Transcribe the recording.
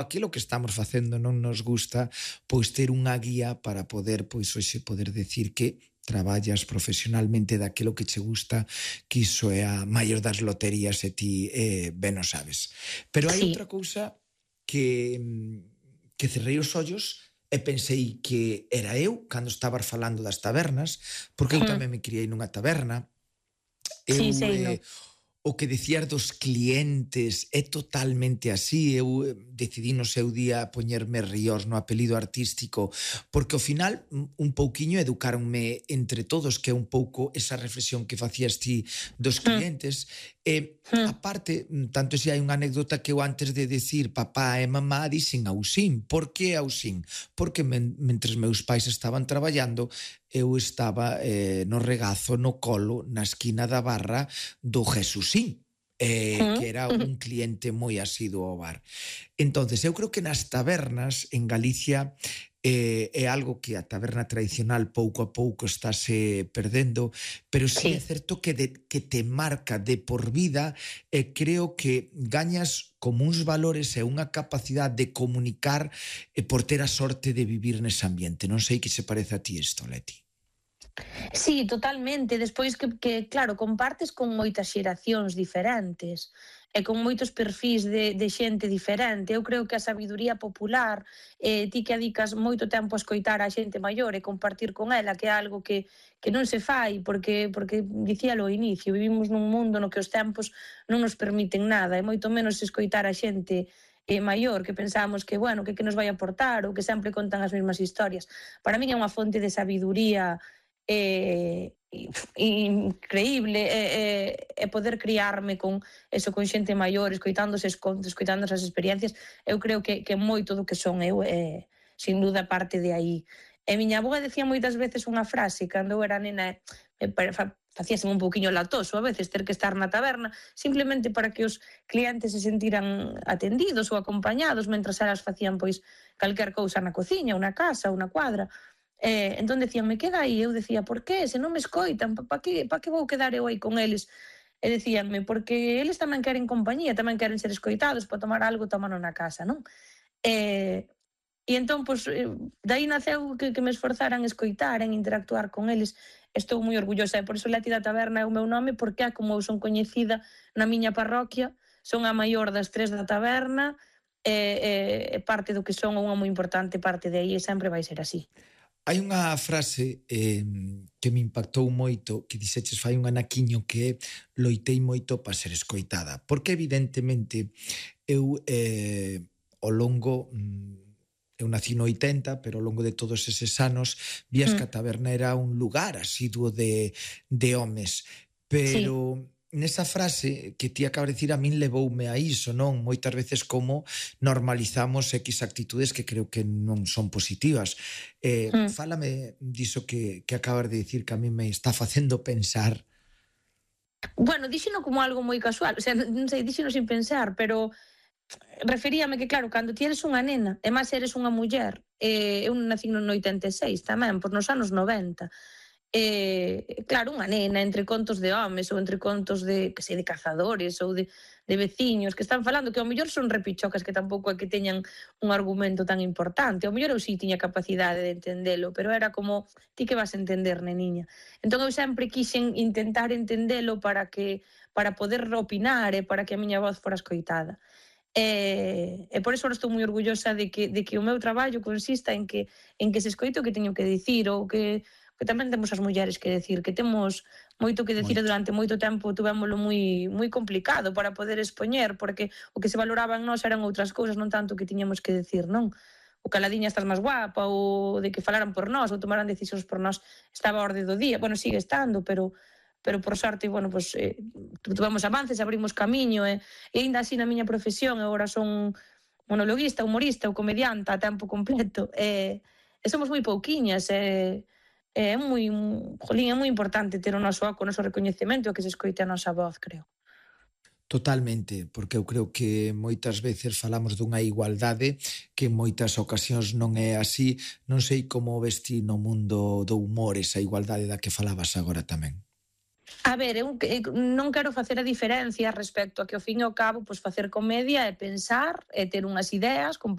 aquilo que estamos facendo non nos gusta, pois ter unha guía para poder, pois hoxe poder decir que traballas profesionalmente daquilo que che gusta, que iso é a maior das loterías e ti ben o sabes. Pero hai Sí. outra cousa que cerrei os ollos e pensei que era eu cando estabas falando das tabernas, porque eu Mm. tamén me criei nunha taberna. Sí, Eu sei, no. O que dicías dos clientes é totalmente así. Eu decidí no seu día poñerme Ríos no apelido artístico porque ao final un pouquiño educaronme entre todos, que é un pouco esa reflexión que facías ti dos Mm. clientes. E Mm. aparte, tanto se hai unha anécdota que eu antes de decir papá e mamá dixen Ausín. Por que Ausín? Porque mentres meus pais estaban traballando, eu estaba no regazo, no colo, na esquina da barra do Jesusín, que era un cliente moi asiduo ao bar. Entonces, eu creo que nas tabernas en Galicia é algo que a taberna tradicional pouco a pouco estáse perdendo, pero sí é certo que te marca de por vida e creo que gañas como uns valores e unha capacidade de comunicar por ter a sorte de vivir nese ambiente. Non sei que se parece a ti isto, Leti. Sí, totalmente. Despois claro, compartes con moitas xeracións diferentes e con moitos perfís de xente diferente. Eu creo que a sabiduría popular, ti que adicas moito tempo a escoitar a xente maior e compartir con ela, que é algo que non se fai, porque dicíalo ao inicio, vivimos nun mundo no que os tempos non nos permiten nada, e moito menos escoitar a xente maior, que pensamos que, bueno, que nos vai aportar ou que sempre contan as mesmas historias. Para min é unha fonte de sabiduría increíble e poder criarme con eso, con xente maior, escoitando eses contos, escoitando esas experiencias. Eu creo que moito do que son eu sin duda parte de aí. E miña avó decía moitas veces unha frase cando eu era nena, facíase un pouquiño latoso a veces ter que estar na taberna simplemente para que os clientes se sentiran atendidos ou acompañados mentras elas facían pois calquer cousa na cociña ou na casa ou na cuadra. Entón decíanme, queda aí, eu decía, por que? Se non me escoitan, pa que vou quedar eu aí con eles? E decíanme, porque eles tamén queren compañía, tamén queren ser escoitados, para tomar algo, tomano na casa, non? E entón, pois, dai naceu que me esforzaran en escoitar, en interactuar con eles. Estou moi orgullosa, e por iso Leti da Taberna é o meu nome, porque é como eu son coñecida na miña parroquia, son a maior das 3 da taberna, e parte do que son unha moi importante parte de aí, e sempre vai ser así. Hai unha frase que me impactou moito, que dixeches fai un anaquiño, que loitei moito para ser escoitada. Porque evidentemente eu ao longo, eu nací no 80, pero ao longo de todos eses anos vías que a taberna era un lugar asiduo de homes. Pero nesa frase que ti acabas de dicir a min levoume a iso, non? Moitas veces como normalizamos X actitudes que creo que non son positivas. Fálame diso que acabas de dicir, que a min me está facendo pensar. Bueno, díxeno como algo moi casual, o sea, non sei, díxeno sin pensar, pero referíame que, claro, cando ti eres unha nena, e máis eres unha muller, eu nací no 86 tamén, por nos anos 90, claro, unha nena entre contos de homes ou entre contos de, que sei, de cazadores ou de veciños que están falando, que ao mellor son repichocas que tampouco é que teñan un argumento tan importante. Ao mellor eu sí tiña capacidade de entendelo, pero era como, ti que vas a entender, neniña? Entón eu sempre quixen intentar entendelo para poder opinar e para que a miña voz fora escoitada. E por iso estou moi orgullosa de que o meu traballo consista en que se escoite o que teño que dicir, ou que tamén temos as mulleres que decir, que temos moito que decir e durante moito tempo tuvémolo moi complicado para poder expoñer, porque o que se valoraba en nós eran outras cousas, non tanto que tiñamos que decir, non? O caladiña estás máis guapa, ou de que falaran por nós, ou tomaran decisións por nós, estaba a orde do día. Bueno, sigue estando, pero por sorte, bueno, pues, tuvemos avances, abrimos camiño, e ainda así na miña profesión, agora son monologuista, humorista ou comedianta a tempo completo, e somos moi pouquiñas, é moi importante ter o noso oco, o noso recoñecemento, que se escoite a nosa voz, creo. Totalmente, porque eu creo que moitas veces falamos dunha igualdade que en moitas ocasións non é así. Non sei como ves ti no mundo do humor esa igualdade da que falabas agora tamén. A ver, eu non quero facer a diferencia respecto a que ao fin e ao cabo pois facer comedia é pensar, é ter unhas ideas,